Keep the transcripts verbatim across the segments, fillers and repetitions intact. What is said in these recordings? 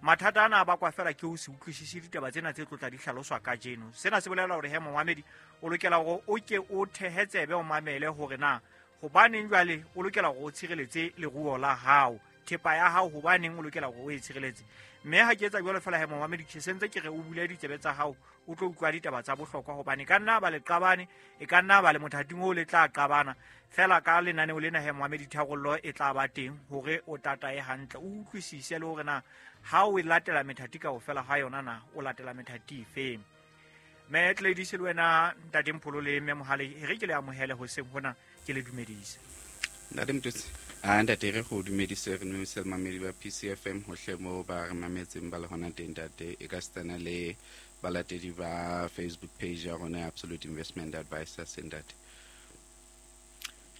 Mathata ana a bakwa fela ke ho se utlwisise ditaba tsena tse tlotla di hlaloswa kajeno. Sena se bolela hore he momamedi o lokela hore o ke o thehe tsebe o mamele hore na hobaneng jwale o lokela hore o tshireletse leruo la hao, thepa ya hao, hobaneng o lokela hore o e tshireletse. Mme ha ke etsa jwalo fela he momamedi, ke sentse ke re o bule ditsebe tsa hao o tlo utlwa ditaba tsa bohlokwa, hobane ka nna ba le qabane, e ka nna ba le mothating o le tla qabana fela ka lenaneo lena he momamedi, tharollo e tla ba teng hore o tatae hantle, o utlwisise le hore na ha o e latela methati kaofela ha yona na o latela methati efe. Mme Gladys le wena ntate Mpholo le mme Mohale, e re ke le amohele hoseng hona, ke le dumedise. Ntate Mototsi, a ntate re go dumedise, re dumedise mamedi ba P C F M hohle moo ba re mametseng ba le hona teng ntate, e ka setsana le balatedi ba Facebook page ya rona ya Absolute Investment Advisors ntate.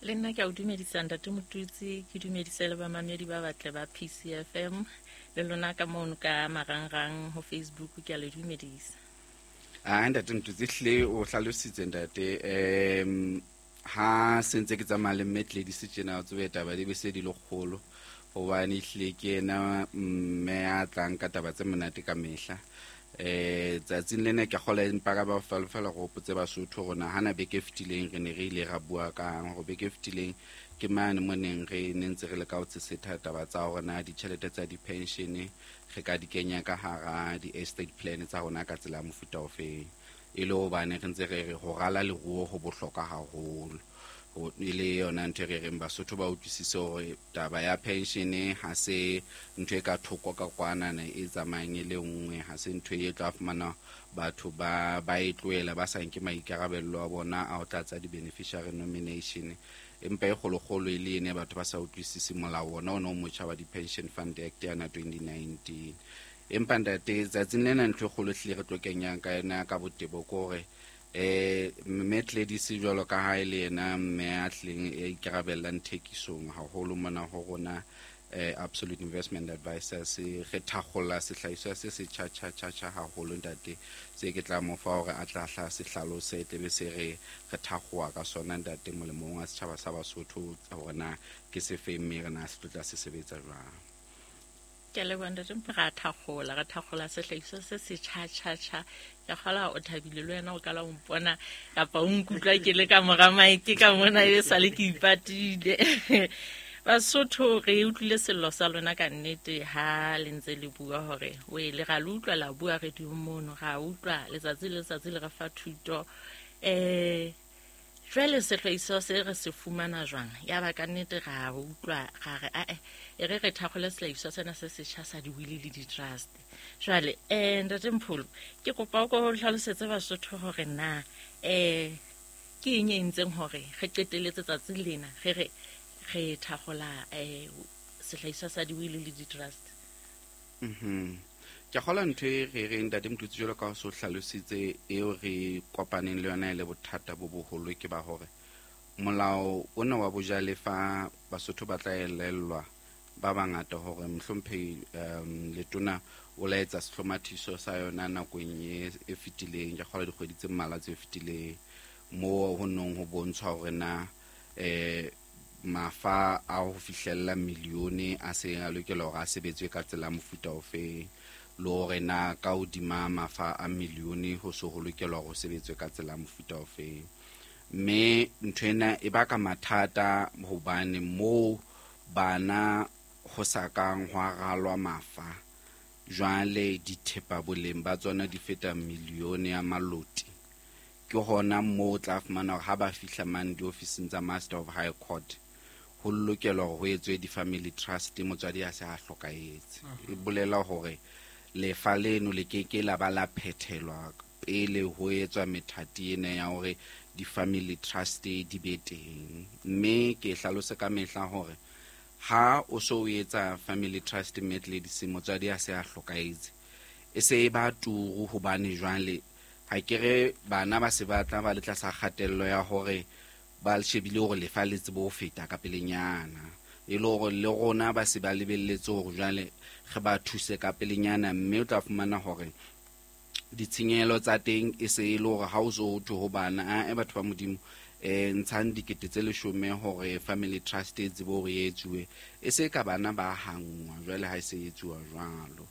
Le nna ke a o dumedisa ntate Motutsi, ke dumedise le bamamedi ba batle ba P C F M le lona ka mono ka marangrang ho Facebook, ke a le dumedisa. Ah, ntate Motutsi hle o hlalositse ntate, em ha sentse ke tsamaya le mme Gladys tjena o tsebe taba di be se di le kgolo, hobane hle ke yena mme a tlang ka taba tse monate ka mehla. Eh tsatsing lena ke kgola empa ka ba fela go hopotse Basotho rona hana beke e fetileng re ne re ile ra bua ka hore beke e fetileng ke mane mo neng re ne ntse re le ka ho tsesetha taba tsa hore na ditjhelete tsa di-pension re ka di kenya ka hara di-estate plan tsa rona ka tsela ya mofuta ofeng, e le hobane re ntse re re ho rala leruo ho bohlokwa haholo. Ho e le yona ntho e re reng Basotho ba utlwisise hore taba ya pension ha se ntho e ka thoko ka kwana e tsamayang e le nngwe, ha se ntho e tla fumana batho ba ba e tlohela ba sa nke maikarabelo a bona a ho tlatsa di-beneficiary nomination, empa e kgolokgolo e le ene batho ba sa utlwisise molao ona o no motjha wa di-Pension Fund Act ya twenty nineteen. Empa ntate tsatsing lena ntho e kgolo hlile re tlo kenyang ka yona ka botebo ke hore eh mme Gladys jwalo ka ha e le yena mme a tleng e ikarabellang thekisong haholo mona ho rona eh Absolute Investment Advisors, re thakgolla sehlahiswa se se tjha tjha tjha tjha haholo ntate, se ke tla mo fa hore a tla hla se hlalose, tlebe se re re thakgoa ka sona ntate molemong wa setjhaba sa Basotho hore na ke se fe mme re na se tla se sebetsa jwang. Ke leboha ntate Mpho, ra thakgola, re thakgola sehlahiswa se se tjha tjha tjha. Ke kgola o thabile le wena o kala o mpona kapa o nkutlwa ke le ka mora maeke ka mona e sale ke ipatile. Basotho re utlwile sello sa lona ka nnete ha le ntse le bua hore o e le ra le utlwa la bua re di mono, ra utlwa letsatsi le letsatsi le re fa thuto. Eh jwale sehlahiswa se re se fumana jwang? Ya ba ka nnete ra utlwa ra re ae e re re thakgole sehlahiswa sena se setjha sa di-will le di-trust. Jwale eh ntate Mpholo, ke kopa o ko hlalosetse Basotho hore na eh ke eng e entseng hore re qeteletse tsatsi lena re re re thakgola eh sehlahiswa sa di-will le di-trust. Mhm. Ke kgola ntho e re reng ntate Motutsi jwalo ka ho so hlalositse eo re kopaneng le yona e le bothata bo boholo ke ba hore molao ona wa bojalefa Basotho ba tla elellwa ba bangata hore mohlomphehi um letona o laetsa sehlomathiso sa yona nakong e e fetileng, ke kgola dikgwedi tse mmalwa tse fetileng, moo ho nong ho bontshwa hore na eh mafa a ho fihlella milione a se a lokela hore a sebetswe ka tsela ya mofuta ofe, le hore na ka hodima mafa a milione ho so ho lokelwa hore ho sebetswe ka tsela ya mofuta ofe. Mme ntho ena e baka mathata hobane moo bana ho sa kang hwa ralwa mafa, jwale dithepa boleng ba tsona di feta milione ya maloti. Ke hona moo o tla fumana hore ha ba fihla mane diofising tsa Master of High Court ho lokelwa hore ho etswe di-family trust, motswadi a se a hlokahetse. E bolela hore lefa leno le keke la ba la phethelwa pele ho etswa methati ena ya hore di-family trust di be teng. Mme ke hlalose ka mehla hore ha o so o etsa family trust mme Gladys motswadi a se a hlokahetse, e se e ba turu hobane jwale ha ke re bana ba se ba tla ba le tlasa kgatello ya hore ba shebile hore lefa le tsebe ho feta ka pelenyana, e le hore le rona ba se ba lebelletse hore jwale re ba thuse ka pelenyana, mme o tla fumana hore ditshenyehelo tsa teng e se e le hore ha o so ho thwe ho bana, a batho ba Modimo eh ntshang dikete tse leshome hore family trust e tsebe hore e etsuwe, e se ka bana ba hangwa jwale ha e se e etsuwa jwalo.